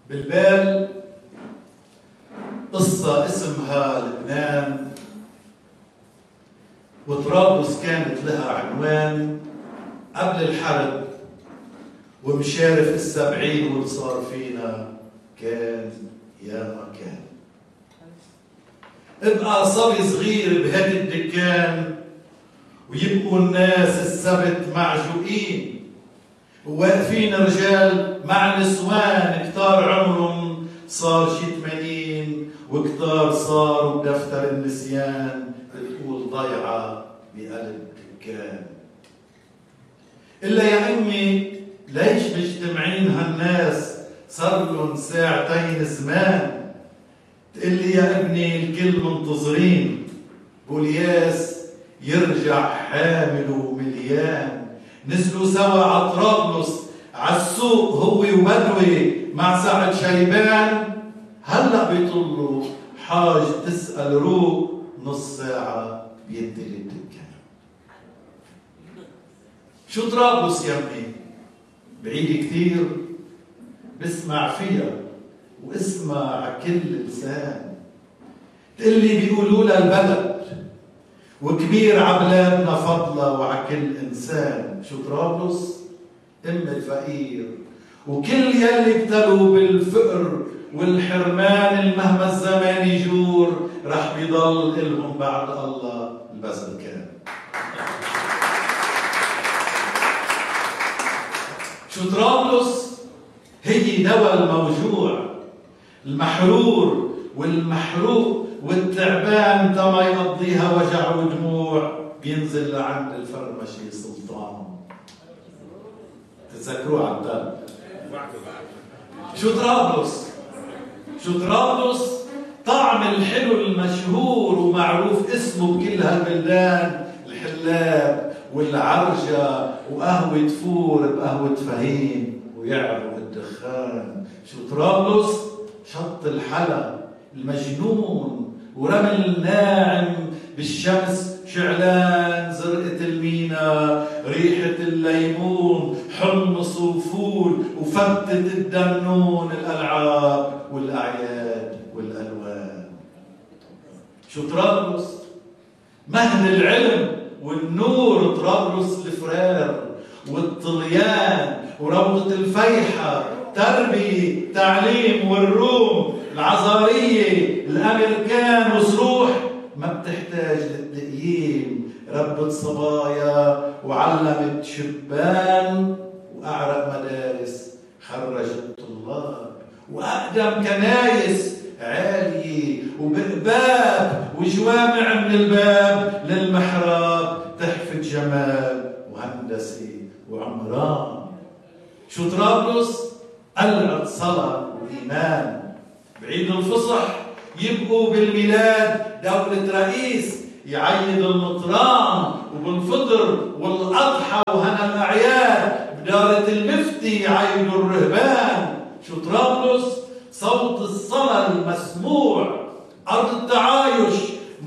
بالبال قصة اسمها لبنان، وطرابلس كانت لها عنوان قبل الحرب، ومشارف 70 واللي صار فينا كان يا ما كان. ابقى صبي صغير بهيك الدكان، ويبقوا الناس السبت معجوقين، وواقفين رجال مع نسوان كتار عمرهم صار شي 80، وكتار صاروا بدفتر النسيان بتقول ضيعة بقلب دكان. إلا يا أمي ليش مجتمعين هالناس صار لهم ساعتين زمان؟ تقلي يا ابني الكل منتظرين بولياس يرجع حامل ومليان. نزلوا سوا على طرابلس عالسوق هو وبدوي مع سعد شيبان، هلأ بيطلوا حاج تسأل روق نص ساعة بيدي الدكان. شو طرابلس يا ابني؟ بعيد كثير، بسمع فيها واسمع عكل لسان. تقلي بيقولوا لها البلد وكبير عبلادنا فضلة وعكل إنسان. شو طرابلس؟ أم الفقير، وكل يلي ابتلوا بالفقر والحرمان المهما الزمان يجور رح بيضل إلهم بعد الله البذل كان. شو طرابلس؟ هي دواء الموجوع، المحرور والمحروق والتعبان تما يقضيها وجع ودموع، بينزل لعند الفرمشي سلطان. تتذكروه على البال. شو طرابلس؟ شو طرابلس؟ طعم الحلو المشهور ومعروف اسمه بكل هالبلدان، الحلاب والعرجة وقهوة فور بقهوة فهيم ويعرق الدخان. شو طرابلس؟ شط الحلا المجنون ورمل ناعم بالشمس شعلان، زرقة المينا، ريحة الليمون، حمص وفول وفتة الدمنون، الألعاب والأعياد والألوان. شو طرابلس؟ مهد العلم والنور، طرابلس الفرار والطليان وروضة الفيحة، تربية تعليم والروم، العزارية الأمريكان وصروح ما بتحتاج للتقييم، ربت صبايا وعلمت شبان، وأعرق مدارس خرجت طلاب، وأقدم كنايس عالية وبقباب وجوامع من الباب للمحراب تحفة جمال وهندسة وعمران. شو طرابلس؟ قلعة صلاة وإيمان. بعيد الفصح يبقوا بالميلاد دولة رئيس يعيد المطران، وبالفطر والأضحى وهنا الأعياد بدارة المفتي يعيدوا الرهبان. شو طرابلس؟ صوت الصلاة المسموع، أرض التعايش،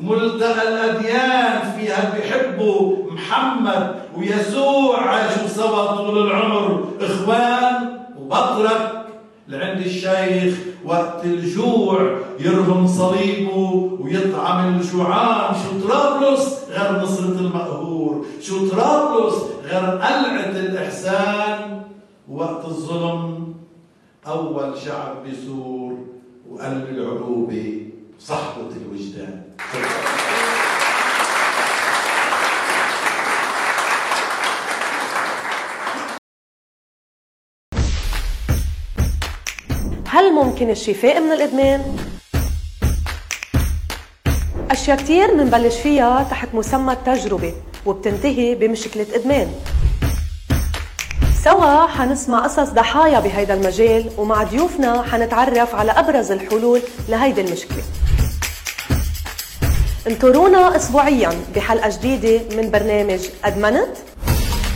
ملتقى الأديان، فيها بيحبوا محمد ويسوع، عاشوا سوا طول العمر إخوان. وبطرك لعند الشيخ وقت الجوع يرهم صليبه ويطعم الجوعان. شو طرابلس غير نصرة المقهور؟ شو طرابلس غير قلعة الإحسان؟ وقت الظلم أول شعب بيثور وقلب العروبة صحبة الوجدان. هل ممكن الشفاء من الإدمان؟ أشياء كتير منبلش فيها تحت مسمى التجربة وبتنتهي بمشكلة إدمان. سوا حنسمع قصص ضحايا بهيدا المجال، ومع ضيوفنا حنتعرف على أبرز الحلول لهيدي المشكلة. انطرونا أسبوعياً بحلقة جديدة من برنامج أدمنت.